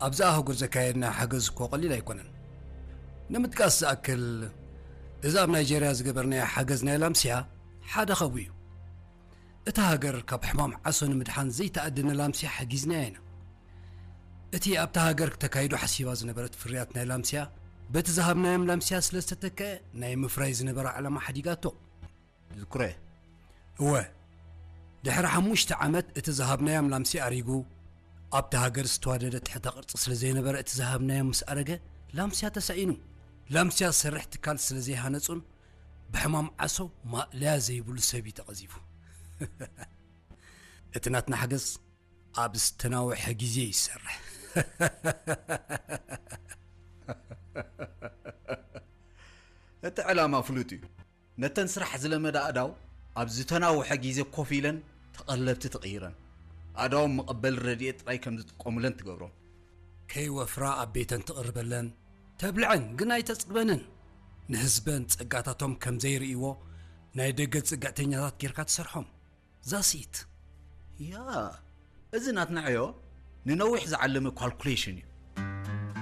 ኣብዛ ኣህጉር ዘካየድና ሓገዝ እኮ ቀሊል ኣይኮነን። ንምጥቃስ ዝኣክል፣ እዚ ኣብ ናይጀርያ ዝገበርናዮ ሓገዝ ናይ ላምስያ ሓደ ኸቡ እዩ። እታ ሃገር ካብ ሕማም ዓሶ ንምድሓን ዘይተኣደነ ላምስያ ሓጊዝናያ ኢና። እቲ ኣብታ ሃገር ተካይዱ ሓሲባ ዝነበረት ፍርያት ናይ ላምስያ፣ በቲ ዝሃብናዮም ላምስያ ስለ ዝተተከአ፣ ናይ ምፍራይ ዝነበራ ዕላማ ሓዲጋቶ። ዝክረ። እወ፣ ድሕሪ ሓሙሽተ ዓመት እቲ ዝሃብናዮም ላምሲ ኣሪጉ፣ ኣብቲ ሃገር ዝተዋደደ ትሕተ ቅርጺ ስለ ዘይነበረ፣ እቲ ዝሃብናዮም ምስ ኣረገ፣ ላምስያ ተሳኢኑ። ላምስያ ዝሰርሕ ትካል ስለ ዘይሃነጹን ብሕማም ዓሶ ማእለያ ዘይብሉ ሰብ እዩ ተቐዚፉ። እቲ ናትና ሓገዝ ኣብ ዝተናውሐ ግዜ ይሰርሕ። እቲ ዕላማ ፍሉጥ እዩ። ነተን ስራሕ ዝለመዳ ኣእዳው ኣብ ዝተናውሐ ግዜ ኮፍ ኢለን ተቐለብቲ ትቕይረን። ኣእዳዎም መቐበሊ ረድኤት ጥራይ ከም ዝጥቀሙለን ትገብሮም። ከይወፍራ ኣብ ቤተን ትቕርበለን፣ ተብልዐን ግን ኣይተጽግበንን። ንህዝበን ጸጋታቶም ከም ዘይርእይዎ ናይ ደገ ጽግዕተኛታት ጌርካ ትሰርሖም። ዛሲት። ያ፣ እዚ ናትና ዕዮ ንነዊሕ ዝዓለመ ካልኩሌሽን እዩ።